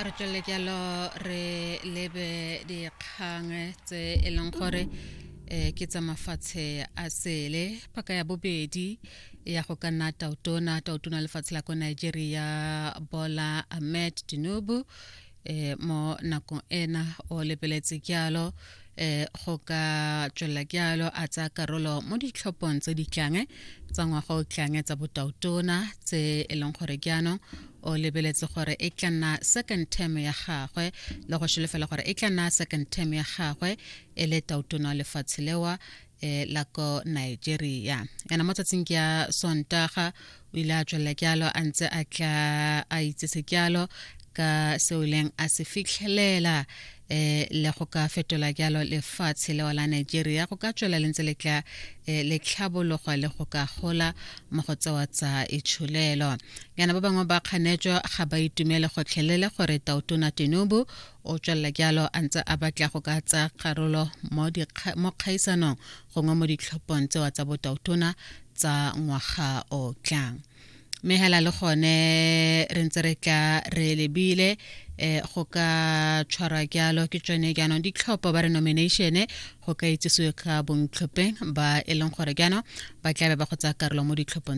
A re tswelele jalo re lebe dikgang tse e leng gore ke tsa mafatshe a sele. Paka ya bobedi ya go ka nna tautona, tautona lefatshe la ko Nigeria Bola Ahmed Tinubu, mo nakong ena o lebeletse jalo go ka tswelela jalo a tsaya karolo mo ditlhophong tse di tlang tsa ngwaga o tlang tsa botautona, tse e leng gore jaanong o lebeletse gore e tla nna second term ya gagwe, le go solofela gore e tla nna second term ya gagwe e le tautona lefatshe lewa la ko Nigeria. Yana mo tsatsing ke ya Sontaga o ile a tswelela jalo a ntse a tla a itsese jalo ka seo ileng a se fitlhelela le go ka fetola jalo lefatshe leo la Nigeria go ka tswela le ntse le tla le tlhabologa le go ka gola mo go tsewa tsa itsholelo. Yana ba bangwe ba kganetso ga ba itumele gotlhelele gore tautona Tinubu o tswelela jalo a ntse a batla go ka tsaya karolo mo kgaisanong gongwe mo ditlhophong tsewa tsa botautona tsa ngwaga o tlang. Mme hela le gone re ntse re tla re lebile go ka tshwarwa jalo ke tsone jaanong ditlhopho ba re nomination go ka itsisiwe ka bontlhopheng ba e leng gore jaanong ba tlabe ba go tsaya karolo mo ditlhophong.